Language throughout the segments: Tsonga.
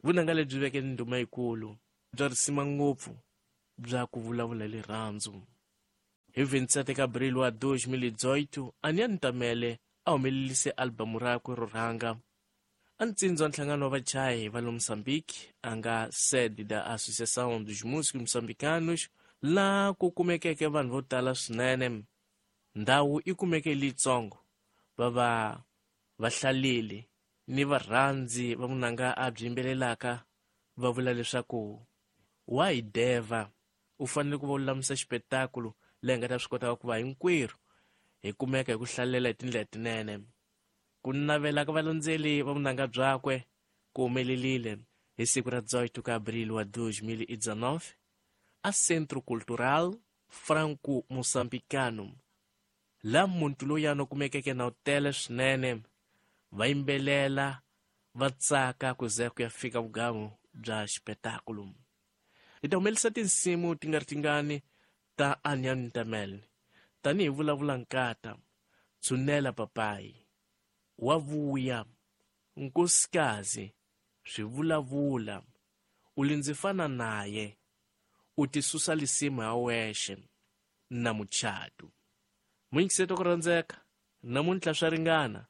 Vunanga lebyi veke ni ndhuma yikulu bya risima ngopfu bya ku vulavula hi rirhandzu. Hi 27 ka Abril wa 2018, Anian Ntamele a humelelise albamu rakwe ro rhanga. A ntsindzi wa nhlangano wa vachayi va le Mozambique a nga sede da Associação dos Músicos Moçambicanos, laha ku kumekeke vanhu vo tala swinene. Ndhawu yi kumeke leyitsongo, va va vahlaleli ni varhandzi va vunanga a byi yimbelelaka va vula leswaku wa hi devha, u fanele ku va u lulamisa xipetakulu leyi nga ta swi kotaka ku va hinkwerhu hi kumeka hi ku hlalela hi tindlela tinene. Ku navela ka valandzeli va vunanga byakwe ku humelelile hi siku ra 18 ka Abril wa 2019 a Centro Cultural Franco Moçambicano, laha muntu loyani u kumekeke na u tele swinene, va yimbelela va tsaka ku ze ku ya fika vugamu bya xipetakulu. Hi ta humelisa tinsimu ti nga ri tingani ta Anian Ntamel tanihi Vulavula Nkata, Tshunela Papayi, Wa Vuya, Nkosikazi, Swivulavula, U Li Ndzi Fana Naye, U Tisusa Lisimu Ha Wexe na Muchatu. Muyingiseti wa ku rhandzeka, namuntlha swa ringana.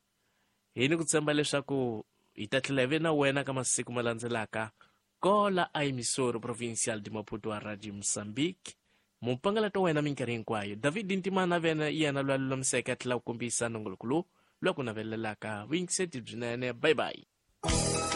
Hi ni ku tshemba leswaku hi ta tlhela hi ve na wena ka masiku ma landzelaka kola a emissora provincial de Maputo a Radio Moçambique. Mupangalato wa wena minkarhi hinkwayo, David Ntimana vena yena loyi a lulamiseke a tlhela ku kombisa nongoloko lowu lowu ku navelelaka vuyingiseti byinene. Bye bye.